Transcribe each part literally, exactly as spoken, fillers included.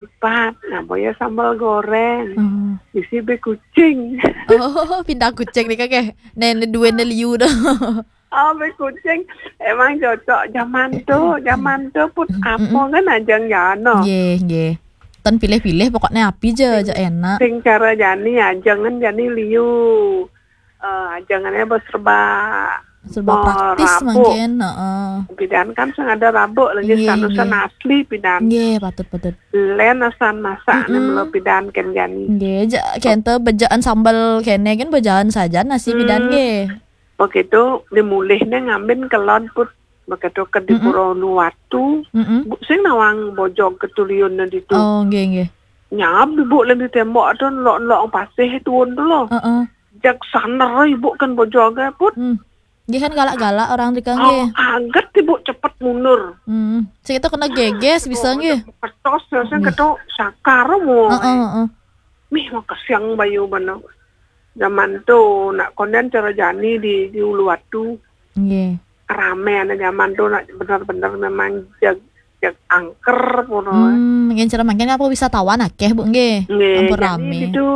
Pat, nah, boya sambal goreng. Hmm. Isi be kucing. Oh, pindah kucing nih kakek. Nenek dua liu dah. Oh, be kucing. Emang cocok zaman tu. Zaman tu pun apa kan ajang jano. Nggih, nggih. Ten pilih-pilih pokoknya api je, aja enak. Sing cara jani ajang kan jani liu. Eh, ajangannya serba Serba praktis Rabu. Mungkin, heeh. Pidan kan sing ada rabuk lagi Iya, sanusan iya. Asli pidan. Nggih, patut patut. Len asan masak Mm-mm. melo pidan kan jani. Nggih, ja, kente bejaan sambal kene kan bejaan saja nasi pidan nggih. Begitu dimulihnya ngambin kelon put. Begitu ke di Mm-mm. Pura Uluwatu. Heeh. Bu, sing nawang bojog ketuliun ditu. Oh, nggih nggih. Nyab bu len di tembok tu lok-lok pasih tuun tu loh. Heeh. Jak saner ibu kan bojog put. Hmm. Nggih kan galak-galak orang rika Oh, nggih. Aget ibu cepet mundur. Hmm. Sing itu kena geges bisa nggih. Ketos sing Nggih. ketok sakar mu. Heeh, heeh. Mih mau kesiang bayu bana. Zaman tu nak konden cara jani di di Uluwatu. Nggih. Rame anak zaman tu nak bener-bener memang jag jag angker pun. Hmm, yang cara makin apa wisatawan akeh, Bu, nggih. Nggih, Ampun jadi rame. Itu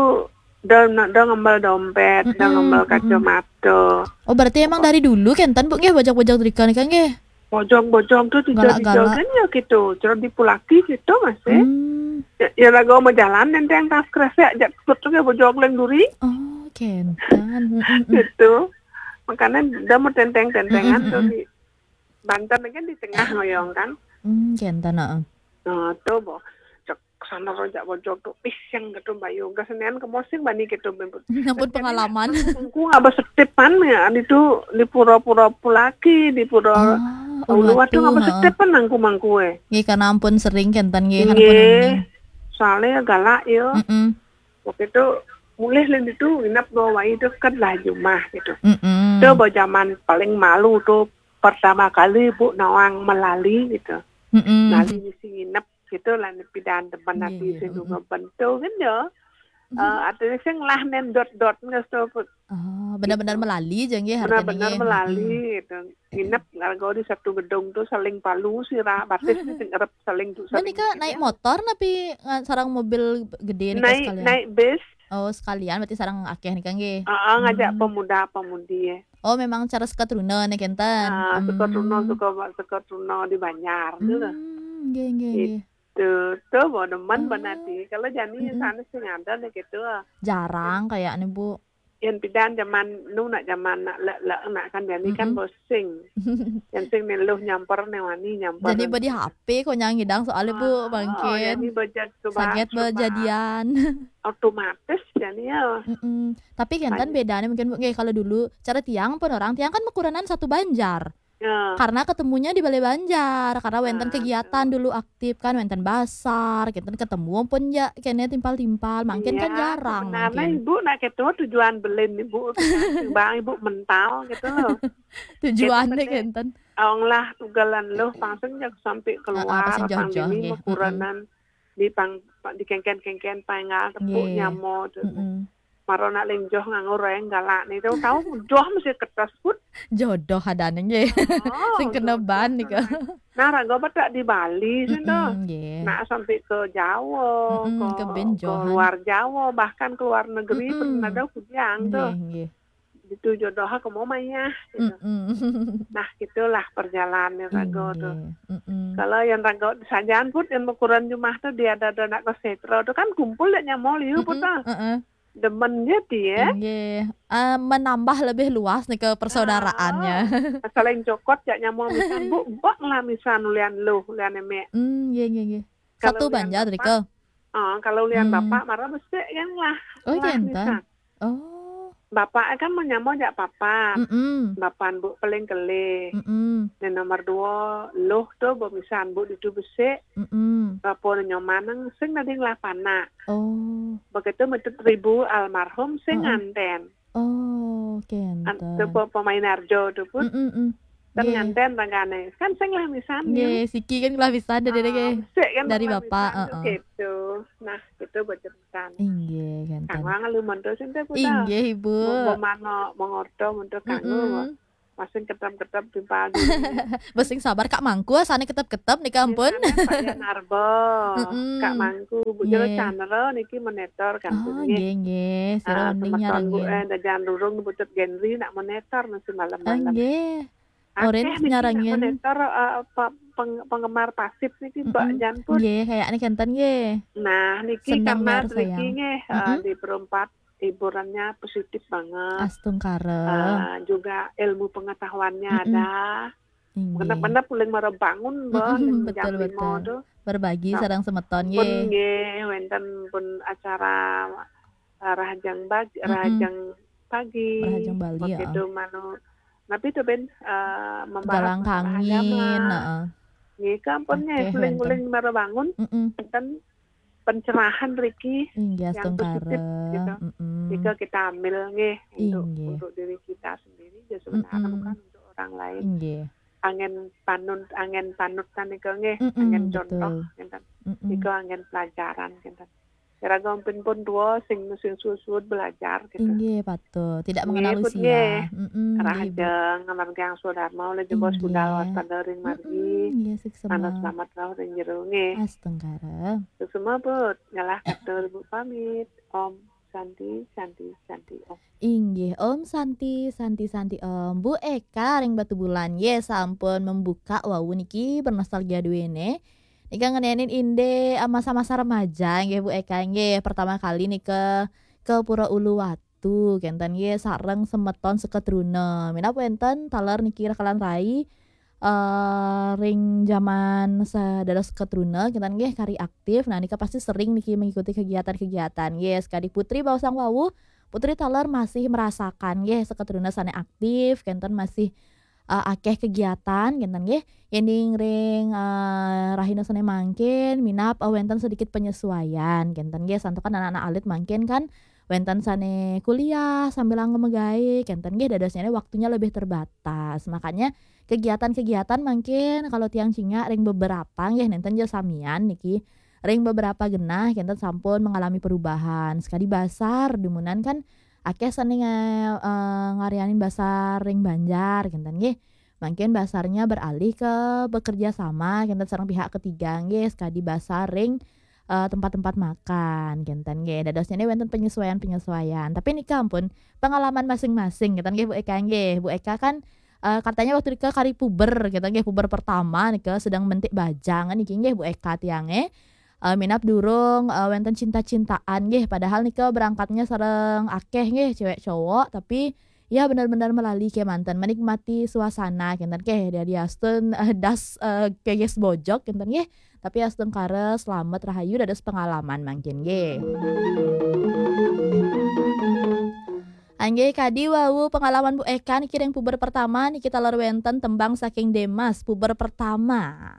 dah nak dah ngambal dompet, dah Mm-mm, ngambal mm-mm. Kacamata. Oh, berarti emang dari dulu kenten, Bu, nggih, bojog-bojog rika nika nggih. Bojog-bojog tu tiga-tiga Galak-galak. Kan ya gitu. Cara di Pulaki gitu masih. Hmm. Ya, ya lagu mau jalan nenteng tas kresek jak put tu ke bojog leng duri. Oh, kenten. Mm-mm. Gitu. Makanya dah mau tenteng-tentengan Mm-mm, tu mm-mm. di Banten kan di tengah ngoyong kan. Hmm, kenten, heeh. Nah, tu bo. Cek sana rojak bojog tu. Ih, yang gitu bayu. Gak senen ke mosing bani gitu. Ampun pengalaman. Aku ngapa setipan ya, itu di pura-pura Pulaki, di pura Ah, Uluwatu Uluwatu, ngapa heeh. Setipan nangku mangku eh. Nggih, karena ampun sering kenten nggih, karena Nggih, ampun nggih. Soalnya galak ya. Mm-mm. Waktu itu mulih lain itu nginep dua wai dekat lah jumah gitu. Mm-mm. Itu baru zaman paling malu tu pertama kali bu nawang melali gitu. Mm-mm. Melali mesti nginep gitu lah ni pidan teman Iya, nanti iya, sing mm-mm. Juga bentuk kan ya. Eh, artinya sing lah nen dot-dot nggak stop. Oh, benar-benar melali je nggih harganya Benar-benar nggih. Melali Mm-mm. Gitu. Nginep ngargo di satu gedung tu saling palu sira batis ni sing erep saling tu Dan saling. nika naik motor napi nga- sarang mobil gede nika Naik sekalian? Naik bis. Oh, sekalian berarti sarang akeh nika nggih. Ah, ngajak Hmm. Pemuda-pemudi eh. Oh, memang cara sekat runa nih kenten. Ah, Hmm. Suka Truno, suka suka Truno di Banjar tu lah. Hmm, nggih nggih nggih. Tu tu bo demen Ah. Benati. Kalau jani Mm-mm. Sana sing ada ni gitu. Jarang kayaknya, Bu. Yang pidan zaman nu nak zaman nak lek lek nak kan jani kan Mm-mm. Bosing. Yang sing ni luh nyamper ni wani nyamper. Jadi badi H P kok nyang ngidang soalnya, Bu, Oh, bangkin. Yang ni bejak tu Saget bejadian. Otomatis jani ya. Mm-mm. Tapi kenten bedanya mungkin, Bu, nggih, kalau dulu cara tiang pun orang tiang kan mekuranan satu banjar. Ya. Karena ketemunya di Balai Banjar, karena wenten Ah, kegiatan dulu aktif kan, wenten basar, kenten ketemu pun ya kene timpal-timpal, mungkin kan Iya, jarang sebenarnya mungkin. Ibu nak ketua tujuan belin ibu bang ibu mental gitu loh. Tujuannya Gitu, kenten. Ong lah tugalan loh pangseng jak sampai keluar pangseng jauh-jauh, pandemi nggih. Mekuranan di pang di kengken-kengken pangal tepuk Nggih. Nyamo tu. Mm-mm. Maro nak lenjoh nganggo reng galak ni tu tahu joh mesti kertas pun. Jodoh adane nggih. Oh, Sing kena jodoh ban tu nika. Nah, raga betak di Bali sih tu. Mm-mm, nggih. Nak sampai ke Jawa, Mm-mm, ke, ke ben ke johan. Luar Jawa, bahkan ke luar negeri Mm-mm. Pernah ada kudiang tu. Nggih, nggih. Itu jodoh aku mau mayah gitu. Mm-mm. Nah, gitulah perjalanan raga tu. Nggih. Mm-mm. Kalau yang raga sajaan pun yang ukuran jumah tu dia ada ada nak ke setro tu kan kumpul dia nyamol you pun Mm-mm, tah. mm-mm. Demen je dia. Nggih. Eh, menambah lebih luas nih ke persaudaraannya. Ah, saling cokot jak nyamol misan bu bak lah misan ulian lu ulian emek. Hmm, nggih nggih nggih. Kalau Satu ulian banjar bapak, rika. Ah, kalau ulian Hmm. Bapak marah besek kan lah. Oh, Lah kenten. misan. Oh. Bapak kan menyamol jak papat. Mm-mm. Bapan bu paling kelih. Mm-mm. Dan nomor dua, loh tu bu misan bu ditu besek. Mm-mm. Bapa nyoman nang sing nading lah panak. Oh. Begitu metut ribu almarhum sing Heeh. Nganten. Oh, An- kenten. Tu pe- pemain arjo tu pun. Mm-mm-mm. Kan Nggih. Nganten ragane. Kan sing lah misan. Nggih, siki kan kelah pisan dari Ah, nggih. Besek kan Dari lah Bapak, misan tu heeh. Gitu. Nah, gitu bocor pisan. Inggih, kenten. Kang Wang lu monto sing teh putar. Inggih, Ibu. Mau mano mengorto monto kanggo. Mm-mm. Masing ketep-ketep timpal di Besing sabar Kak Mangku, asane ketep-ketep nika ampun. Pak Yan Arbo, Mm-mm. Kak Mangku, Bu Jero Nggih. Chandra niki monitor kan Oh, nggih. nggih, nggih. Sira Ah, uning semeton Bu nyarengin. Eh, Dajan Rurung Bu Tut Genri nak monitor mesti Ah, malam-malam. nggih. Akeh Orin niki nak nyarengin. Monitor eh, pe- peng- penggemar pasif niki Mbak Mm-mm. Jan pun. Nggih, kayaknya kenten nggih. Nah, niki Senang karena nyar niki sayang. nggih eh, Mm-mm. di Perumpat hiburannya positif banget. Astungkara. Eh, juga ilmu pengetahuannya Mm-mm. ada. Inggih. Benar-benar paling mara bangun mbah Mm-mm, ning betul, jam lima betul. tuh. Berbagi Nah, sareng semeton Pun nggih. Nggih, wenten pun acara eh, rahajang bagi, Mm-mm. rahajang pagi. Rahajang Bali, Begitu heeh. Manu. Tapi itu ben eh, membahas Galang masalah kangin, agama. Heeh. Nggih, kampun nggih, Oke, guling-guling mara bangun, Mm-mm. wenten pencerahan riki Inggih, yang positif astungkara. gitu. Mm-mm. Jika kita ambil nggih untuk Inggih. untuk diri kita sendiri, ya sebenarnya Mm-mm. bukan untuk orang lain. Inggih. Angin panut, angin panutan nika nggih, Mm-mm, angin contoh betul. ngenten. Mm-mm. Nika angin pelajaran ngenten. Kira gampun pun dua sing sing suwud belajar gitu. Inggih, patut. Tidak Nggih, mengenal put usia. nggih. Mm-mm, nggih, Bu. Rahajeng ngamargiang swadharma oleh jebos Inggih. budal waspada ring margi. Mm-mm, nggih, Manut suksema. Selamat rauh ring jero nggih. Astungkara. Suksema put, ngalah katur Bu pamit. Om Santi, Santi, Santi Om. Inggih, Om Santi, Santi, Santi Om. Bu Eka ring Batubulan, nggih, sampun membuka wau niki bernostalgia duene. Nika ngenenin inde eh, masa-masa remaja nggih Bu Eka nggih. Pertama kali nika ke Pura Uluwatu kenten nggih sareng semeton seketruna. Minab wenten taler niki rakalan rai eh, ring jaman sadados seketruna kenten nggih kari aktif. Nah nika pasti sering niki mengikuti kegiatan-kegiatan nggih. Sekadi Putri baosang wau, Putri taler masih merasakan nggih seketruna sane aktif kenten masih eh, akeh kegiatan kenten nggih. Yening ring eh, rahina sane mangkin minab eh, wenten sedikit penyesuaian kenten nggih santukan anak-anak alit mangkin kan wenten sane kuliah sambil anggo megawe kenten nggih dadosnyane waktunya lebih terbatas. Makanya kegiatan-kegiatan mangkin kalau tiang cingak ring beberapa nggih nenten ja samian niki ring beberapa genah kenten sampun mengalami perubahan. Sekadi basar dumunan kan akeh sane nga- eh, ngaryanin basar ring Banjar kenten nggih. Mangkin basarnya beralih ke bekerja sama kenten sareng pihak ketiga nggih sekadi basar ring eh, tempat-tempat makan kenten nggih. Dadosnyane wenten penyesuaian-penyesuaian. Tapi nika ampun pengalaman masing-masing kenten nggih Bu Eka nggih. Bu Eka kan eh, katanya waktu nika kari puber kenten nggih, puber pertama nika sedang mentik bajang niki nggih Bu Eka tiange. Eh, minab durung eh, wenten cinta-cintaan nggih, padahal nika berangkatnya sareng akeh nggih cewek cowok, tapi ya benar-benar melali kemanten menikmati suasana kenten nggih. Dari astun eh, das eh, keges bojok kenten nggih. Tapi astungkara selamat rahayu dados pengalaman mangkin nggih. Anggih kadi wau pengalaman Bu Eka niki ring puber pertama niki taler wenten tembang saking Demas puber pertama.